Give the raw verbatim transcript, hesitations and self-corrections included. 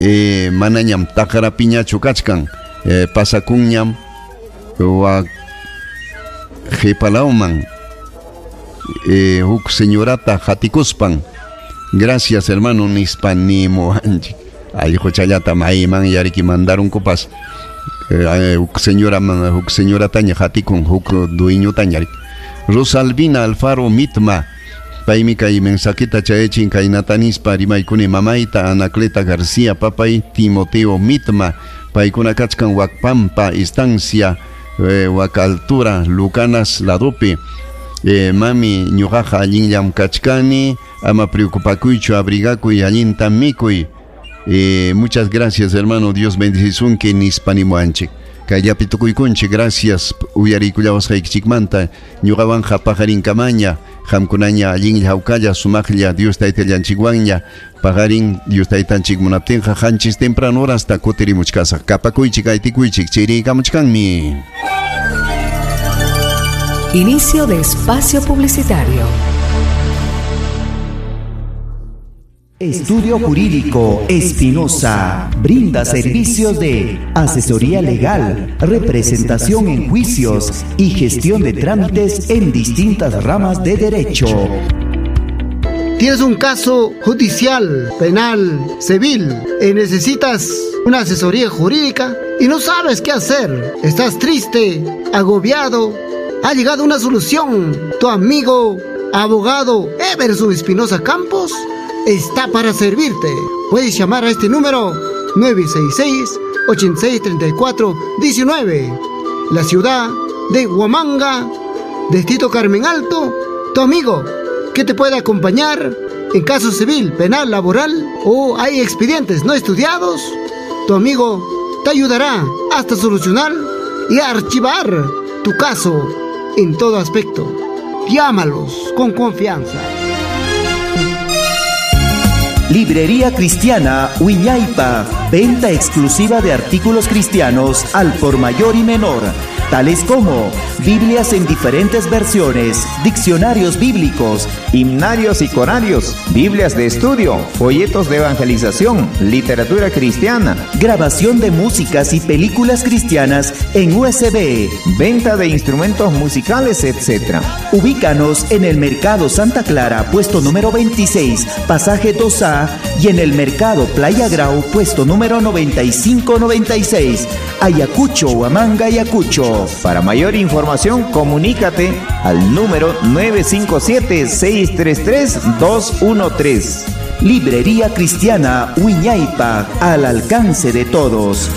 Eh, manañam taqarapiñachu kachkan, eh, pasakunñam wak qhipalawman eh, huk señorata hatikuspan. Gracias, hermano, nispa nimuwanchik. Allquchallata mayman yariki mandarunkupas. Eh, huk señora huk señorataña hatikun huk dueñotaña. Rosalvina Alfaro Mitma paymi kay mensajita chayachin kaynata nispa rimaykuni mamayta Anacleta García, papay Timoteo Mitma, paykuna kachkan Wakpampa estancia, eh, wak altura Lucanas ladopi. Eh, mami, ñuqaqa allinllam kachkani, ama preocupakuychu, abrigakuy, allinta mikuy. Eh, muchas gracias, hermano, Dios bendecisunki nispa nimuwanchik. Kayllapi tukuykunchik, gracias uyariykullawasqaykichikmanta. Ñuqawanqa paqarinkamaña, qamkunaña allinlla hawkalla sumaqlla Dios taytallanchikwanña. Paqarin Dios taytanchik munaptinqa qanchis temprano horasta kutirimuchkasaq. Kapakuychik, aytikuychik, chiriykamuchkanmi. Inicio de espacio publicitario. Estudio Jurídico Espinosa brinda servicios de asesoría legal, representación en juicios y gestión de trámites en distintas ramas de derecho. Tienes un caso judicial, penal, civil y necesitas una asesoría jurídica y no sabes qué hacer. Estás triste, agobiado. Ha llegado una solución. Tu amigo, abogado Everson Espinosa Campos está para servirte. Puedes llamar a este número nueve seis seis, ochenta y seis, treinta y cuatro, diecinueve. La ciudad de Huamanga, Distrito Carmen Alto, tu amigo que te puede acompañar en caso civil, penal, laboral o hay expedientes no estudiados. Tu amigo te ayudará hasta solucionar y archivar tu caso en todo aspecto. Llámalos con confianza. Librería Cristiana Wiñaypa, venta exclusiva de artículos cristianos al por mayor y menor, tales como Biblias en diferentes versiones, diccionarios bíblicos, himnarios y corarios, Biblias de estudio, folletos de evangelización, literatura cristiana, grabación de músicas y películas cristianas en U S B, venta de instrumentos musicales, etcétera. Ubícanos en el Mercado Santa Clara, puesto número veintiséis, pasaje dos A, y en el Mercado Playa Grau, puesto número noventa y cinco noventa y seis, Ayacucho, Huamanga, Ayacucho. Para mayor información, comunícate al número nueve cinco siete, seis tres tres, dos uno tres. Librería Cristiana Wiñaypa, al alcance de todos.